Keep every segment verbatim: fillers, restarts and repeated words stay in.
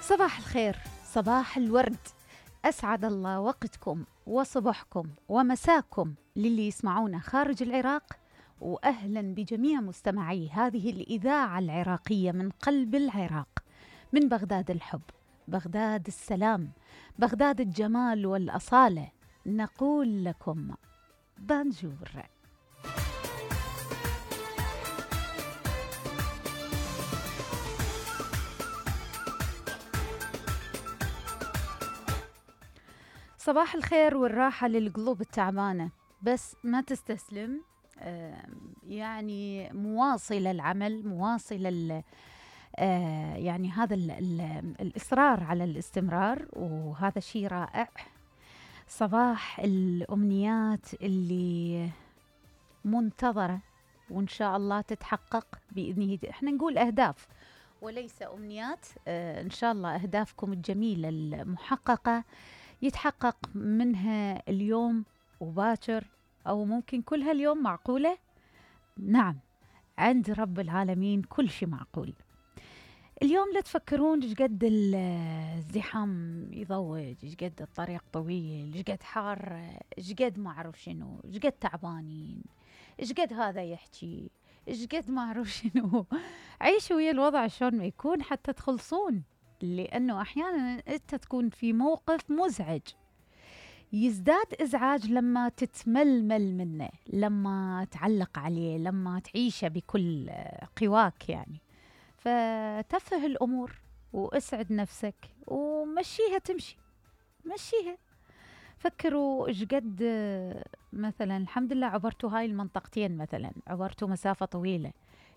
صباح الخير، صباح الورد. أسعد الله وقتكم وصباحكم ومساكم للي يسمعونا خارج العراق، وأهلا بجميع مستمعي هذه الإذاعة العراقية من قلب العراق، من بغداد الحب، بغداد السلام، بغداد الجمال والأصالة. نقول لكم بانجور. صباح الخير والراحة للقلوب التعبانة، بس ما تستسلم. يعني مواصلة العمل، مواصلة يعني هذا ال ال الإصرار على الاستمرار، وهذا شيء رائع. صباح الأمنيات اللي منتظرة وإن شاء الله تتحقق بإذنه. احنا نقول أهداف وليس أمنيات. إن شاء الله أهدافكم الجميلة المحققة يتحقق منها اليوم وباكر، أو ممكن كل هاليوم. معقولة؟ نعم، عند رب العالمين كل شيء معقول. اليوم لا تفكرون ايش قد الزحام يضوج، ايش قد الطريق طويل، ايش قد حار، ايش قد ما اعرف شنو، ايش قد تعبانين، ايش قد هذا يحكي، ايش قد ما اعرف شنو. عيشوا ويا الوضع شلون ما يكون حتى تخلصون، لأنه أحياناً أنت تكون في موقف مزعج، يزداد إزعاج لما تتململ منه، لما تعلق عليه، لما تعيشه بكل قواك يعني. فتفه الأمور واسعد نفسك ومشيها تمشي، مشيها. فكروا إيش قد مثلاً الحمد لله عبرتوا هاي المنطقتين، مثلاً عبرتوا مسافة طويلة،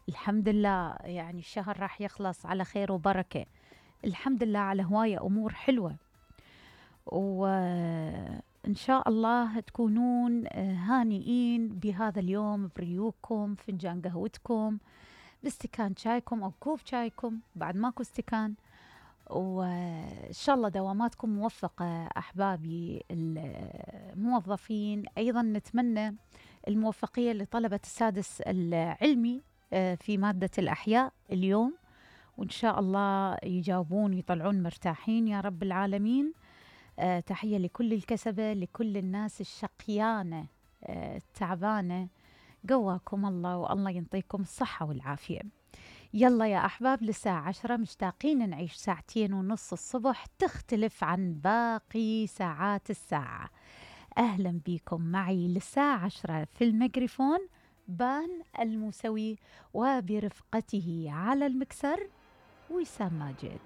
الحمد لله يعني الشهر راح يخلص على خير وبركة، الحمد لله على هواية أمور حلوة. وإن شاء الله تكونون هانئين بهذا اليوم، بريوكم، فنجان قهوتكم، باستكان شايكم أو كوب شايكم، بعد ماكو استكان. وإن شاء الله دواماتكم موفقة أحبابي الموظفين. أيضا نتمنى الموفقية لطلبة السادس العلمي في مادة الأحياء اليوم، وإن شاء الله يجاوبون ويطلعون مرتاحين يا رب العالمين. آه تحية لكل الكسبة، لكل الناس الشقيانة آه التعبانة، قواكم الله والله ينطيكم الصحة والعافية. يلا يا أحباب، للساعة عشرة مشتاقين نعيش ساعتين ونص الصبح تختلف عن باقي ساعات الساعة. أهلا بكم معي للساعة عشرة في الميكروفون بان الموسوي، وبرفقته على المكسر وسام ماجد.